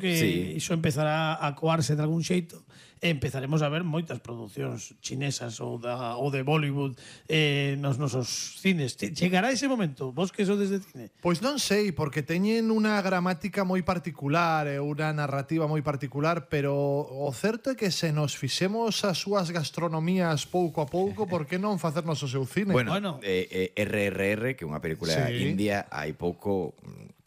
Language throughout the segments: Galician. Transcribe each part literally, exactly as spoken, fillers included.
que Sí. iso empezará a coarse de algún xeito e empezaremos a ver moitas producións chinesas ou, da, ou de Bollywood eh, nos nosos cines. Chegará ese momento? Vos que sodes de cine? Pois non sei, porque teñen unha gramática moi particular e unha narrativa moi particular, pero o certo é que se nos fixemos as súas gastronomías pouco a pouco, por que non facernos o seu cine? Bueno, Bueno. eh, eh, R R R, que é unha película Sí. india, hai pouco,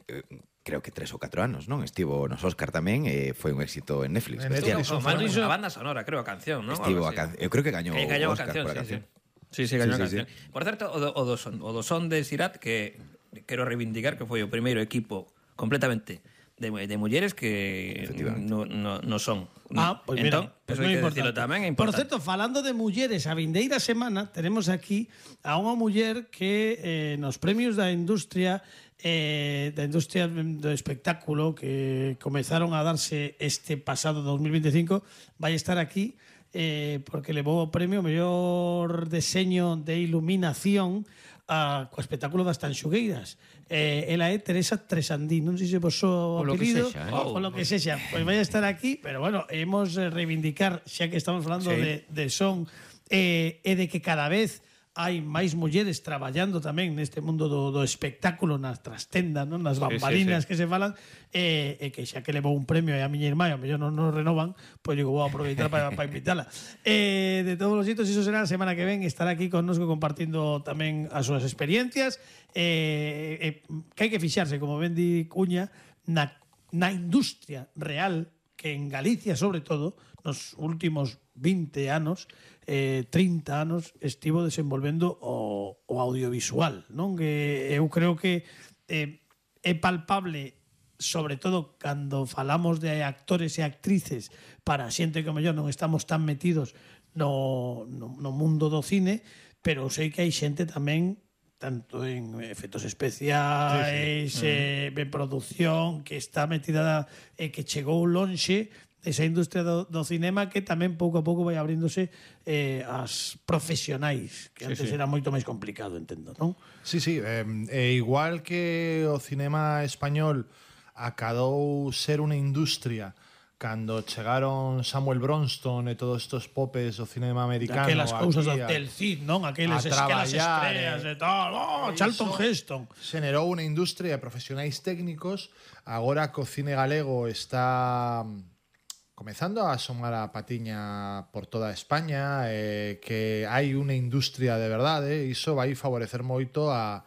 eh, creo que tres ou catro anos, non? Estivo nos Oscar tamén e foi un éxito en Netflix. En Hostia, Netflix. No, Eso mal, fue- a banda sonora, creo, a canción, ¿no? Estivo Algo a así. can... Eu creo que gañou Que gañou a Oscar canción, por a sí, canción. sí. Sí, sí, gañou Sí, a sí, canción. Por certo, o do, o do son, o do son de Sirat, que quero reivindicar que foi o primeiro equipo completamente de, de mulleres que Efectivamente. no, no, no son. Ah, pois Entón, mira, pois eso moi hai que importante. decirlo tamén, é Por importante. certo, falando de mulleres, a vindeira semana tenemos aquí a unha muller que eh, nos premios da industria eh, da industria do espectáculo que comezaron a darse este pasado dos mil veinticinco vai estar aquí eh, porque levou o premio mellor deseño de iluminación a, co espectáculo das Tanxugueiras. Eh, ela é Teresa Tresandín, non sei se vos o Polo que apelido sexa, eh. o polo que sexa, pois vai a estar aquí, pero bueno, hemos eh, reivindicar, xa que estamos falando Sí. de, de son eh, e de que cada vez hai máis mulleres traballando tamén neste mundo do, do espectáculo, nas trastendas, non? Nas Sí, bambalinas sí, sí. que se falan, e, e que xa que levou un premio e a miña irmá, e a mellor non nos renovan, pois digo, vou aproveitar para pa invitala. Eh, de todos os xeitos, iso será a semana que ven, estará aquí connosco compartindo tamén as súas experiencias, eh, eh, que hai que fixarse, como ben di Cuña, na, na industria real, que en Galicia, sobre todo, nos últimos vinte anos, eh, trinta anos, estivo desenvolvendo o, o audiovisual, non? Que eu creo que eh, é palpable, sobre todo cando falamos de actores e actrices, para xente que ao mellor non estamos tan metidos no, no, no mundo do cine, pero sei que hai xente tamén tanto en efectos especiais, sí, sí. Eh, en producción, que está metida e eh, que chegou lonxe esa industria do, do cinema, que tamén pouco a pouco vai abríndose eh, as profesionais, que Sí, antes sí. era moito máis complicado, entendo, non? Sí, sí, eh, e igual que o cinema español acadou ser unha industria cando chegaron Samuel Bronston e todos estos popes do cinema americano, Aquelas cousas do aquí a- Hotel Cid, non? Aqueles, a aquelas traballar, estreas eh, e tal, oh, Charlton iso Heston. Xenerou unha industria de profesionais técnicos. Agora que o cine galego está mm, comezando a asomar a patiña por toda España, eh, que hai unha industria de verdade, iso vai favorecer moito a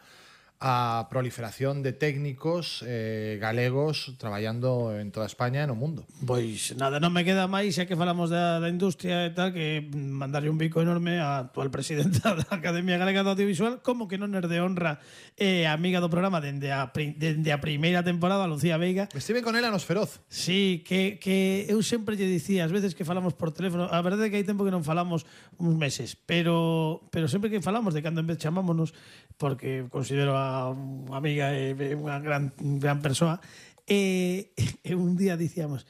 a proliferación de técnicos eh, galegos traballando en toda España e no mundo. Pois nada, non me queda máis, xa que falamos da, da industria e tal, que mandarle un bico enorme á actual presidenta da Academia Galega do Audiovisual, como que non é de honra e eh, amiga do programa dende a, pri- dende a primeira temporada, Lucía Veiga. Estive con ela nos Feroz. Sí, que, que eu sempre lle dicía, ás veces que falamos por teléfono, a verdade é que hai tempo que non falamos uns meses, pero pero sempre que falamos, de cando en vez chamámonos, porque considero a unha amiga e unha gran, gran persoa, e, e un día dicíamos,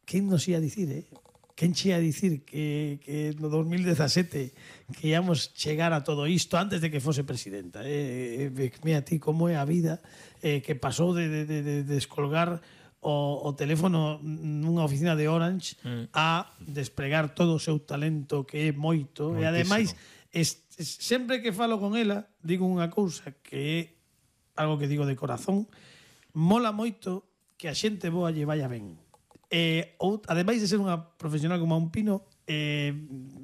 quen nos ia dicir, eh? Quen che ia dicir que, que no dos mil dezasete que íamos chegar a todo isto antes de que fose presidenta, eh? E, mira ti como é a vida, eh, que pasou de, de, de, de descolgar o, o teléfono nunha oficina de Orange mm. a despregar todo o seu talento, que é moito. Moitísimo. E ademais es, es, sempre que falo con ela digo unha cousa que é algo que digo de corazón, mola moito que a xente boa lle vaya ben. Eh, ou, ademais de ser unha profesional como un pino, eh,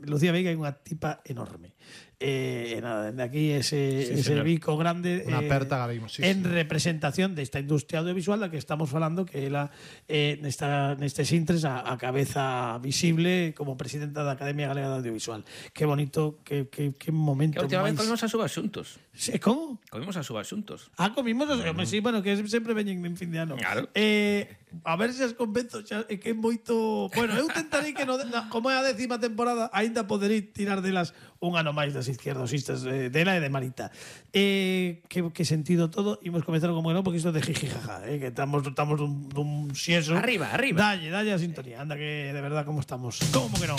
Lucía Veiga é unha tipa enorme. Eh, nada, de aquí ese, Sí, ese señor. bico grande Unha eh, aperta garimos, sí, en sí. representación desta industria audiovisual da que estamos falando, que ela eh, nesta, nestes intres a, a cabeza visible como presidenta da Academia Galega de Audiovisual. Que bonito, que, que, que momento Que a última vez máis... comimos as uvas xuntos. Sí, como? Comimos as uvas xuntos. Ah, comimos os... Mm. Sí, bueno, que sempre veñen en fin de ano. Claro. Eh, a ver se as convenzo, xa, é que é moito... Bueno, eu tentarei que, no, na, como é a décima temporada, aínda poderei tirar delas un ano máis das izquierdosistas, eh, dela e de Marita. Eh, que, que sentido todo. Imos comezar como que non, porque isto é de jijijaja, eh, que estamos, estamos dun, dun xieso. Arriba, arriba. Dalle, dalle a sintonía. Anda, que de verdad, como estamos. Como que non?